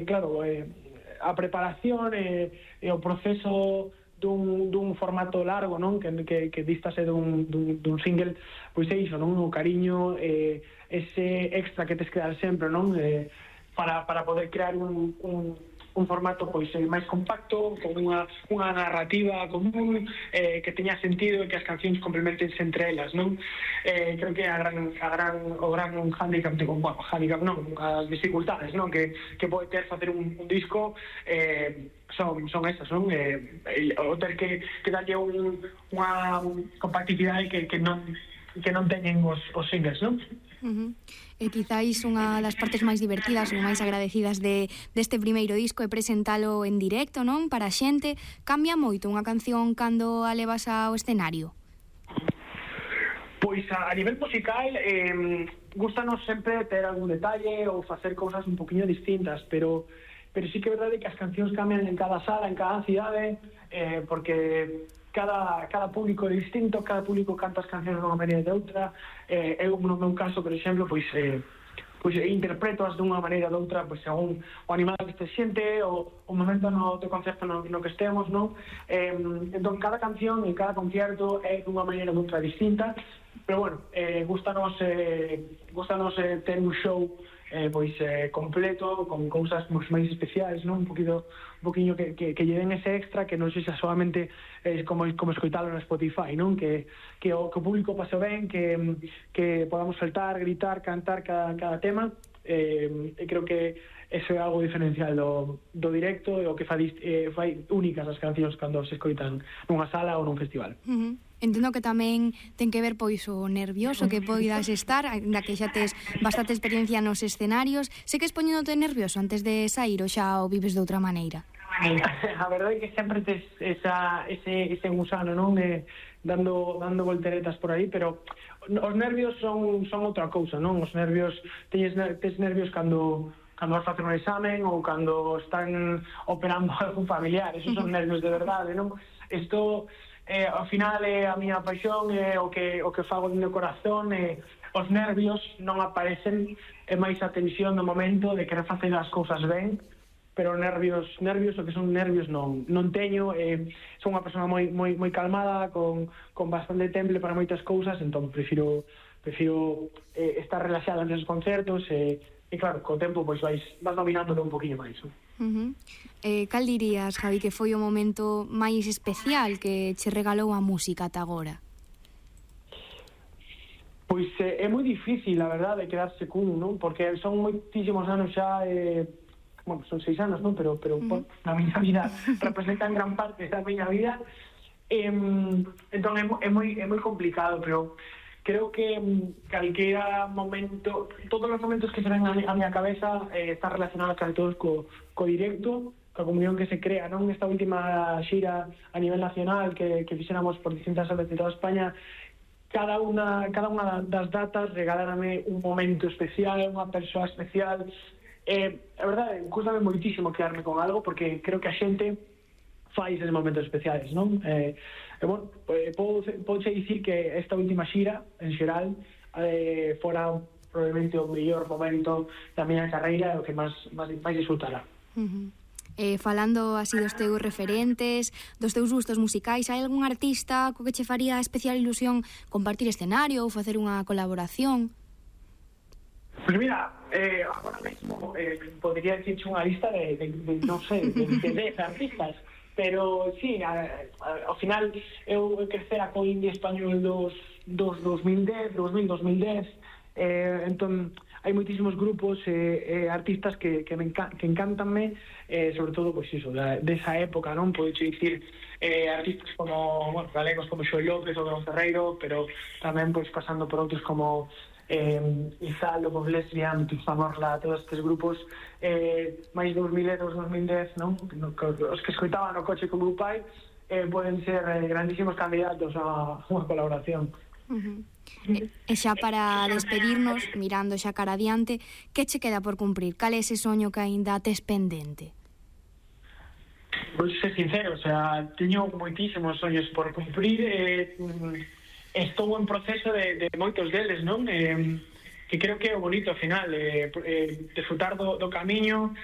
claro, a preparación e o proceso dun formato largo, non? Que distase dun single, pois é iso, non? O cariño, ese extra que tes que dar sempre, non? Para poder crear un formato pois máis compacto, con unha narrativa común, que teña sentido e que as cancións complementense entre elas, non? Creo que o gran handicap, handicap non, as dificultades, non? Que pode ter facer un disco son esas, non? O ter que darlle unha compactividade que non teñen os singles, non? E quizáis unha das partes máis divertidas ou máis agradecidas deste primeiro disco é presentalo en directo, non? Para a xente. Cambia moito unha canción cando a levas ao escenario? Pois a nivel musical gustanos sempre ter algún detalle ou facer cousas un poquinho distintas, pero sí que é verdade que as cancións cambian en cada sala, en cada cidade, porque cada público é distinto, cada público canta as cancións dunha maneira de outra. Eu, no meu caso, por exemplo, pois interpreto-as dunha maneira de outra, pois según o animal que este xente, o momento do concerto no que estemos, non? Entón, cada canción e cada concierto é dunha maneira de outra distinta, pero bueno, gustanos ter un show completo, con cousas máis especiais, non? Un poquinho que lle den ese extra, que non sexa solamente como escoitalo no Spotify, non? Que o público pase ben, que podamos saltar, gritar, cantar cada tema, e creo que eso é algo diferencial do directo e o que fai únicas as cancións cando se escoitan nunha sala ou nun festival. Entendo que tamén ten que ver pois o nervioso que poidas estar, ainda que xa tes bastante experiencia nos escenarios. Sei que es poñéndote nervioso antes de sair ou xa o vives de outra maneira? A verdade é que sempre tes ese gusano, non? Dando volteretas por aí, pero os nervios son outra cousa, non? Os nervios, tes nervios cando vas facer un examen ou cando están operando algún familiar, esos son nervios de verdade, non? Isto, ao final, é a miña paixón, é o que fago do meu corazón, os nervios non aparecen, é máis a tensión do momento de querer facer as cousas ben, pero nervios, o que son nervios non teño. Son unha persona moi calmada, con bastante temple para moitas cousas, entón prefiro estar relaxada nos concertos, e claro, co tempo pois vas dominándolo un poquinho máis. Cal dirías, Javi, que foi o momento máis especial que che regalou a música ata agora? Pois é moi difícil, a verdade, quedarse cun, non? Porque son moitísimos anos xa, bueno, son 6 anos, non? Pero na miña vida representan gran parte da miña vida, entón é moi complicado, pero creo que calquera momento, todos os momentos que se ven a miña cabeza están relacionados casi todos co directo, coa comunión que se crea, non? Esta última xira a nivel nacional que fixéramos por distintas salas de toda España, cada unha das datas regalárame un momento especial, unha persoa especial. A verdade, custame moitísimo quedarme con algo, porque creo que a xente fai eses momentos especiais, non? Bueno, podo dicir que esta última xira, en xeral, fora probablemente o mellor momento da miña carreira, o que máis disfrutara. Falando así dos teus referentes, dos teus gustos musicais, hai algún artista co que che faría especial ilusión compartir escenario ou facer unha colaboración? Pues mira, agora mesmo podría dicirche unha lista de non sei, de 10 artistas, pero sí, ao final eu crecera co indie español dos 2010, entón hai moitísimos grupos e artistas que encantanme, sobre todo, pois iso, desa época, non? Podes dicir artistas como, bueno, galegos como Xoel López ou Don Ferreiro, pero tamén pois pasando por outros como Izal, Lobos Lesbian, Tuxa Morla, todos estes grupos máis 2010, non? Os que escoitaban no coche con meu pai poden ser grandísimos candidatos a unha colaboración. E xa para despedirnos, mirando xa cara adiante, que che queda por cumprir? Cal é ese soño que aínda tes pendente? Pois ser sincero, o sea, teño moitísimos soños por cumprir, estou en proceso de moitos deles, non? que creo que é o bonito ao final, disfrutar do camiño,